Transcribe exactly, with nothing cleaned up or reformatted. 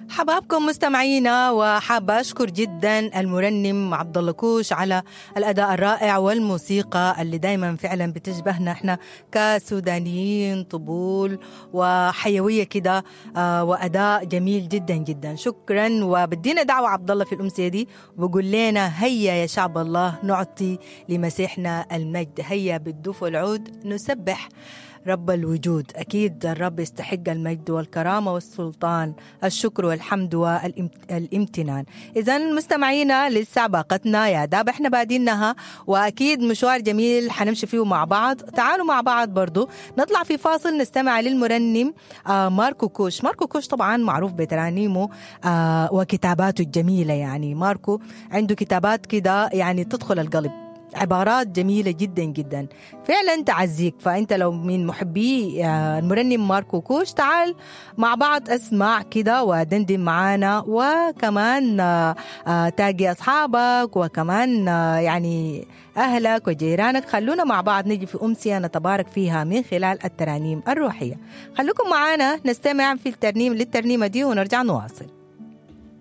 حبابكم مستمعينا، وحابة أشكر جدا المرنم عبد الله كوش على الأداء الرائع والموسيقى اللي دايما فعلا بتشبهنا احنا كسودانيين، طبول وحيوية كده، آه، وأداء جميل جدا جدا. شكرا. وبدينا دعوة عبد الله في الأمسية دي وبقول لنا هيا يا شعب الله نعطي لمسيحنا المجد، هيا بالدف والعود نسبح رب الوجود. أكيد الرب يستحق المجد والكرامة والسلطان، الشكر والحمد والامتنان. إذا مستمعينا لسه باقتنا يا داب احنا بادينها، وأكيد مشوار جميل حنمشي فيه مع بعض. تعالوا مع بعض برضو نطلع في فاصل نستمع للمرنم آه ماركو كوش. ماركو كوش طبعا معروف بترانيمه آه وكتاباته الجميلة، يعني ماركو عنده كتابات كده يعني تدخل القلب، عبارات جميلة جدا جدا فعلا تعزيك. فأنت لو من محبي المرنم ماركو كوش تعال مع بعض اسمع كده ودندن معانا، وكمان تاقي أصحابك وكمان يعني أهلك وجيرانك. خلونا مع بعض نجي في أمسية نتبارك فيها من خلال الترانيم الروحية. خلوكم معانا نستمع في الترنيم للترنيمة دي ونرجع نواصل.